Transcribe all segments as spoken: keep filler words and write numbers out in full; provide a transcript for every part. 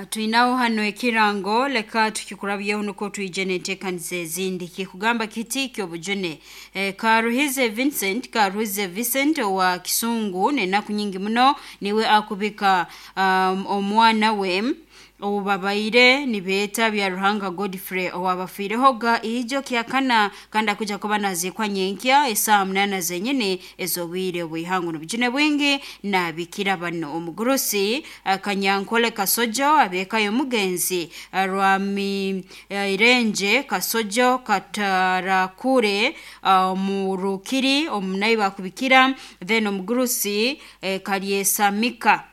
Twinaho hano ekirango, leka tukikurabyeho nukwo twije n'enteekaniza ezindi. Kikugamba kiti ky'obujune. E, Karuhize Vincent, Karuhize Vincent owa Kisungu n'enaku nyingi muno niwe akubika um, omwana we obubabaire nibeeta bya Ruhanga Godfrey owabafiirehoga ijo kyakana, kandi akuja kuba naziikwa nyenkya esaaha munaana zenyini ez'obwire obw'ihangu. N'obujune bwingi nabikira bano omugurusi eh, Kanyankole Kasojo, abeeka y'omugenzi eh, Rwami eh, Irenje Kasojo Katarakure, omurukiri omunayi bakubikira, then omugurusi eh, Kalyesamika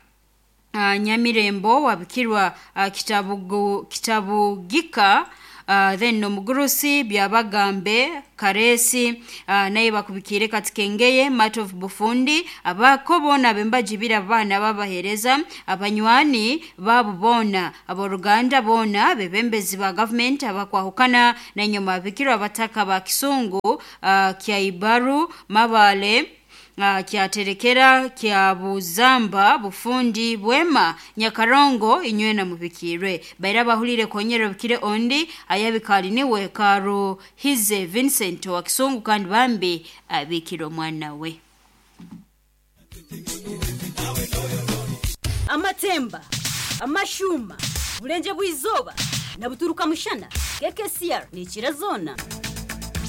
uh, Nyamirembo wabikirwa uh, kitabugu, kitabugika, uh, then omugurusi Byabagambe Karesi, uh, naye bakubikire Katikengeye Matov Bufundi, abako boona bembajibira abaana babahereza abanywani baabo boona, aboruganda boona, bebembezi ba gavumenti abakwahukana, nanyuma abikirwa abataka ba Kisungu, uh, Kyaibaru Mabale, uh, kyaterekera kya Buzamba Bufundi Bwema Nyakarongo, inywena mubikirwe baira bahulire konyera bikire ondi ayabikali niwe Karuhize Vincent wa Kisungu, kandi bambi abikira omwana we. Amatemba, amashuma, bulenje bw'izoba na buturuka mushana. K K C R ni zona.